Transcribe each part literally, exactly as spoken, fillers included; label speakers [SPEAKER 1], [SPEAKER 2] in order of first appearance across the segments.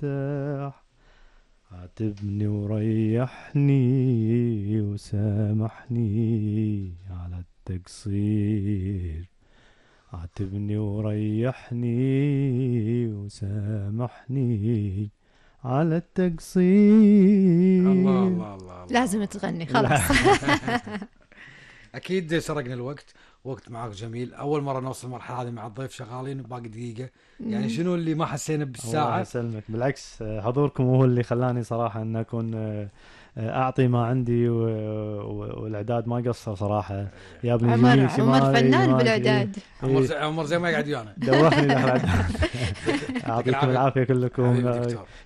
[SPEAKER 1] ارتاح. عاتبني وريحني وسامحني على التقصير. عاتبني وريحني وسامحني على التقصير.
[SPEAKER 2] الله الله الله, الله.
[SPEAKER 3] لازم تغني خلاص.
[SPEAKER 2] أكيد سرقنا الوقت، وقت معك جميل. أول مرة نوصل المرحلة هذه مع الضيف، شغالين باقي دقيقة. يعني شنو اللي ما حسينا بالساعة؟
[SPEAKER 1] الله يسلمك، بالعكس حضوركم هو اللي خلاني صراحة أن أكون أعطي ما عندي، والإعداد ما قصر صراحة. يا ابني
[SPEAKER 3] عمر, عمر فنان بالإعداد.
[SPEAKER 2] عمر زي, عمر زي ما قاعد ويانا
[SPEAKER 1] دوخني داخل. أعطيكم العافية كلكم،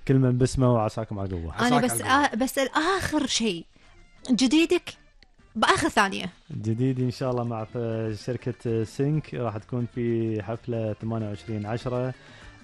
[SPEAKER 1] كل من بسمه وعساكم على قوة.
[SPEAKER 3] أنا بس آه بس الآخر شيء جديدك بآخر ثانية.
[SPEAKER 1] جديد إن شاء الله مع شركة سينك، راح تكون في حفلة ثمانية وعشرين عشرة،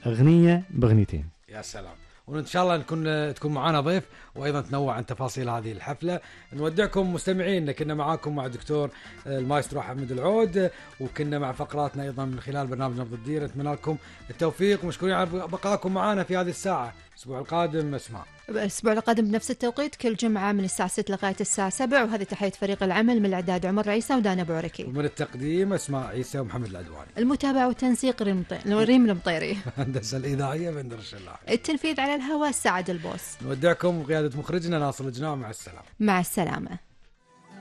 [SPEAKER 1] أغنية بأغنيتين.
[SPEAKER 2] يا سلام. وإن شاء الله نكون تكون معنا ضيف وأيضا تنوع عن تفاصيل هذه الحفلة. نودعكم مستمعين، كنا معاكم مع دكتور المايسترو حمد العود، وكنا مع فقراتنا أيضا من خلال برنامج نبض الدير. نتمنى لكم التوفيق ومشكورين على بقائكم معنا في هذه الساعة. الأسبوع القادم اسمع
[SPEAKER 3] الأسبوع القادم بنفس التوقيت كل جمعة من الساعة ستة لغاية الساعة سبعة. وهذه تحية فريق العمل، من الإعداد عمر عيسى ودانا بوركي،
[SPEAKER 2] ومن التقديم اسماء عيسى ومحمد العدواني،
[SPEAKER 3] المتابعة والتنسيق ريم المطيري،
[SPEAKER 2] الهندسة الإذاعية بندر الشلاحي،
[SPEAKER 3] التنفيذ على الهواء سعد البوس.
[SPEAKER 2] نودعكم وقيادة مخرجنا ناصر الجناع. مع السلامة.
[SPEAKER 3] مع السلامة.